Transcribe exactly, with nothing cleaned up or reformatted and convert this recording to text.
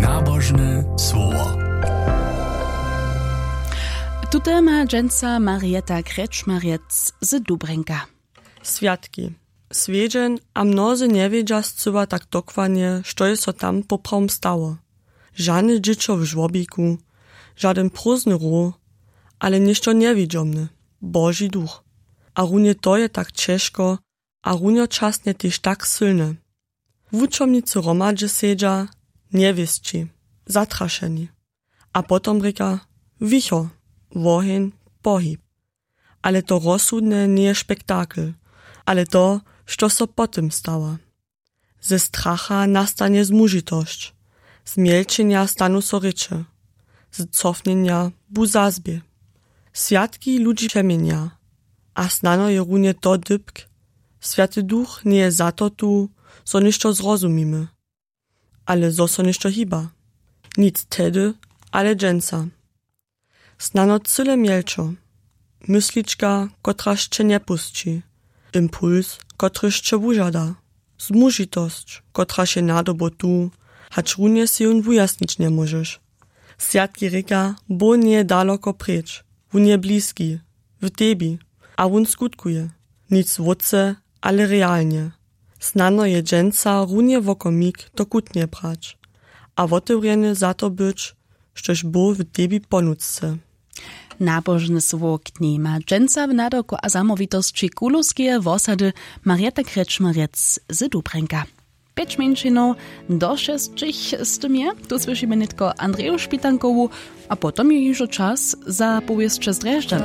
Nabožne słowo. Tute ma dźensa Marieta Krečmarjec z Dubrjenka. Swjatki. Swjedźeń a mnozy njewědźa scyła tak dokładnje, što je so tam poprawom stało. Žane dźěćo w žłobiku, žadyn prózdny roh, ale něšto njewidźomne, Boži duch. A runje to je tak ćežko a runjočasnje tež tak sylne. Wučomnicy hromadźe sedźa, njewěsći, zatrašeni. A potom rěka: Wicho, woheń, pohib. Ale to rozsudne njeje spektakel, ale to, što so po tym stała. Ze stracha nastanje zmužitosć, z mjelčenja stanu so rěče, z cofnjenja bu zazbě. Swjatki ludźi přeměnja, a snano je runje to dypk: Swjaty Duch njeje za to tu, zo něšto zrozumimy, ale zo so něšto hiba. Nic tehdy, ale dźensa. Snano cyle mjelčo, myslička, kotraž će njepusći, impuls, kotryž će wužada, zmužitosć, kotraž je nadobo tu, hač runje sej jón wujasnić njemóžeš. Swjatki rěka: Bóh njeje daloko preč, wón je bliski, w tebi, a wón skutkuje, nic wótře, ale realnje. Snano je dźensa runje wokomik to kutnje brać a wotewrjeny za to być, štož Bóh w tebi ponutřce. Nabožne słowo k njej ma dźensa w nadawku a zamołwitosći kulowskeje wosady Marieta Krečmarjec z Dubrjenka. Pjeć mjeńšinow do šesćich z tym je, tu słyšimy nětko Andreju Špitankowu, a potom je hižo čas za powěsće z Drježdźan.